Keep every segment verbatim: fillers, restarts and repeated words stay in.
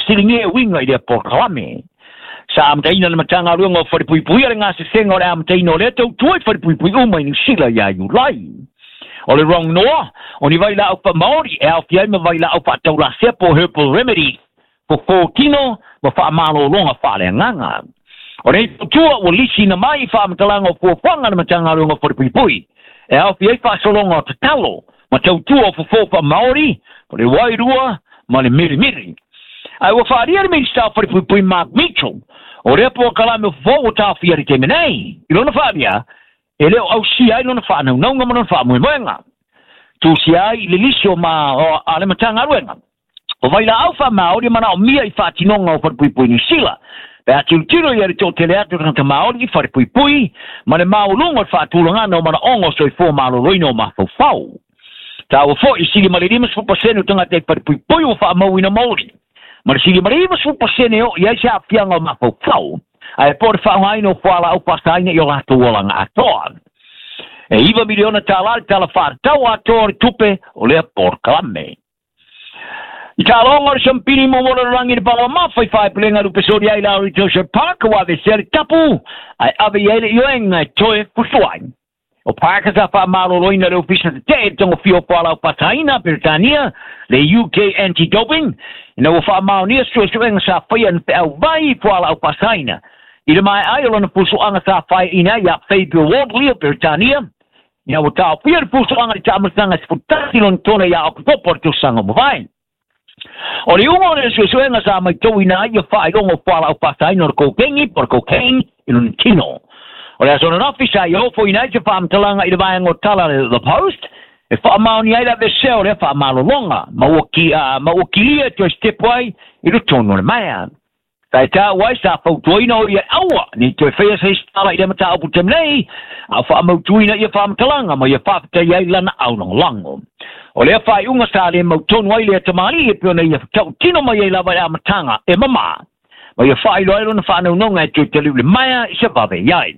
faafesiligia e uiga i lea polokalame. Sa amataina le Matagaluega o Falepuipuia le gasesega o le amataina o lea tautua i falepuipui uma i Niusila ia Iulai. O le rongoa, o ni vailaau faamaori e aofia ai ma vailaau faataulasea po herbal remedy, fofō tino ma faamalōloga faaleagaga. O nei tautua ua lisiina mai i faamatalaga o fuafuaga le Matagaluega o Falepuipui, e aofia ai faasologa o tatalo ma tautua o fofō faamaori, o le wairua ma le mirimiri. Ae ua faalia le Minista o Falepuipui Mark Mitchell, o lea polokalame o fofō ua taofia i le taimi nei. I lona faalia, e le o ausia ai lona faanaunauga ma lona faamoemoega. Tusia ai i le lisi o ma o a le Matagaluega. O vailaau faamaori e manaomia i faatinoga o falepuipui Niusila. Pe a tilotilo ia le toatele atu o tagata Maori i falepuipui ma le maualuga o le faatulagana o manaoga o soifua maloloina o mafaufau. Taua foi sili ma le limasefulu pasene o tagata i falepuipui ua faamauina maoli. Ma le sili ma le ivasefulu pasene o i ai se aafiaga o mafaufau. Ae po o le faaaogaina o fualaau faasaina i o latou olaga atoa. E iva miliona tālā le tala faatatau atoa o le tupe o lea polokalame. I taaloga o le sampini mo mo le lalolagi le palamamafa i faepulega lupesoli ai la Ritosha Park ua avesea le tapu ae ave i ai le ioega e toe fusuai. O Parker sa faamalōlōina le ofisa tetee i le togafia o fualaau faasaina Peretania le U K Anti-Doping ina ua faamaonia suesuega sa faia na feauvai i fualaau faasaina. I le maeai o lona fusuaga sa faeaina ai ia Fabio Wardley o Peretania ina ua taofia le fusuaga i le taamataga sefulutasi lona tona ia Oketopa o le tausaga mavae. O le iuga o le suesuega sa maitauina ai ia faailoga o fualaau faasaina o le kokengi po o le cocaine i lona tino. O le aso ananafi sa i ofoina ai se faamatalaga i le vaega o tala le The Post e faamaoni ai le avesea o lea faamalologa ma ua ki, uh, ma ua kilia e toe stepo ai i totonu o le maea. Sa e tāua ai sa fautuaina o ia aua nei toe faia se isi tala i lea mataupu taimi nei, a o faamautuina ia faamatalaga ma ia faafetai ai lana aulagolago. O lea faaiuga sa le mautonu ai lea tamalii e pei ona ia tautino mai ai lava i le amataga e mamā ma ia faailoa ai lona faanaunauga e toe taliu le maea i se vave i ai.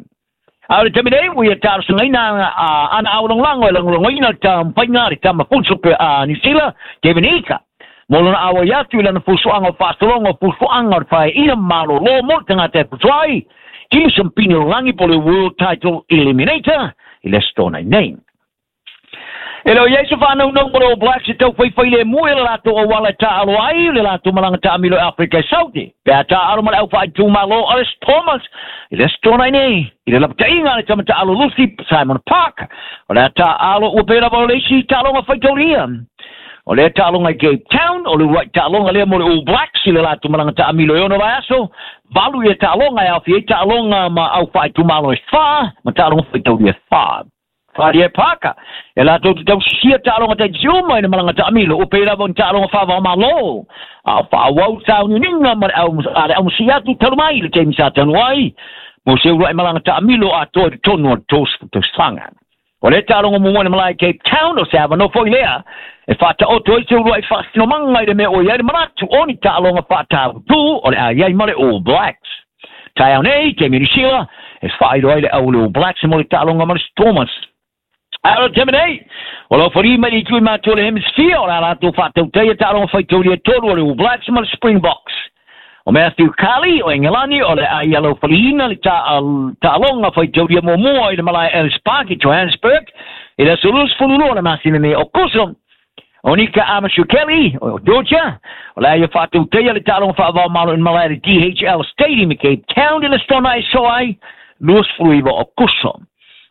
A o le taimi nei ua ia talosagaina ana aulagolago e lagolagoina le taumafaiga a le tama fuso a Niu Sila, Kevin Ika, mo lona auai atu i lana fusuaga o faasologa o fusuaga o le faeaina malōlō mo le tagata e fusu ai i le sampini o lagi po le World Title Eliminator i le aso nei nei. E le o iai se faanaunauga o le All Blacks e taufaifai lemu i le latou auala e taalo ai le latou malaga taamilo i Afrika e Saute. Pe a taalo ma le aufaaitumālō o le Stormers i le aso nei nei i le lapataiga a le tama taalo Lucy Simon Park. O le a taalo ua pei lava o le isi taaloga faitaulia. O lea taaloga i Cape Town, o le uluai taaloga lea mo le All Blacks i le latou malaga taamilo e ono vaiaso. Valu ia taaloga e aofia ai taaloga ma aufaaitumālo e whā, ma taaloga faitaulia e whā. Wharia e Parker, e latou te tausisia taaloga taitasi uma i le malaga taamilo, ua pei lava o ni taaloga faavaomālō. A o faaauau sauniuniga ma le au, a le aumasia atu talu mai i le taimi sa tanu ai, mo se uluai malaga taamilo atoa i totonu o le tolusefulu tausaga. O lea taaloga muamua i le malae i Cape Town, o se avanoa foi lea, e faataoto ai se uluai faasinomaga i le mea o i ai le manatu o ni taaloga faatavutū o le a i ai ma le All Blacks. Taeao nei, taimi o Niu Sila, e faailoa ai le au o le All Blacks mo le taaloga ma le Stormers. A o le taimi nei, o lau fali mai le itu i matua o le Hemisphere, o le a latou faatautai taaloga faitaulia e tolu o le All Blacks ma le Springboks. O Matthew Carley o Engelani o le a ia lau faliina le taaloga faitaulia muamua i le malae Ellis Park i Johannesburg i le aso luasefulu lua o le masina nei o Aokuso. O Nika Amashukeli o Georgia o le a ia faatautaia le taaloga faavaomalo i le malae le D H L Stadium i Cape Town i le aso e soa ai luasefulu iva o Aokuso.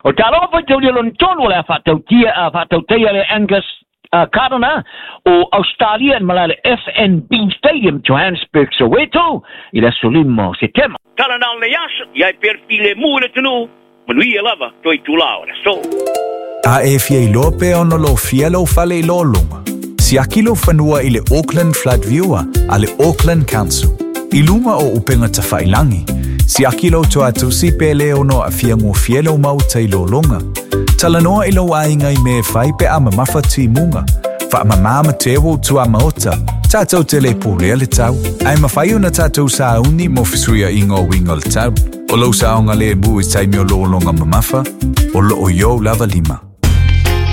O taaloga faitaulia lona tolu o le a faatautia a faatautaia le Angus uh, Gardner o Australia i le malae le F N B Stadium Johannesburg Soweto i le aso lima o Setema. Tala nao le aso, ia e pea le filemu i le atunuu, manuia lava toe itulā o le aso. A e fia iloa pea ona lō fia lau fale i lōlōga. Siaki lou fanua i le Auckland Flood Viewer a le Auckland Council. I luga o upenga tawhailangi. Siaki lou toatusi pe le ono a fia ngō lau mauta i lōlōga. Talanoa i lou ainga i me whai pe a mamafa timunga. Wha mamama te wo tua maota. Tātou te le pōlea le tau. Ai mawhai ona tātou sauni mo fisuia ingo wingo le tau. O lou saonga le mu i taimi o lōlōga mamafa. O loo yo lava lima.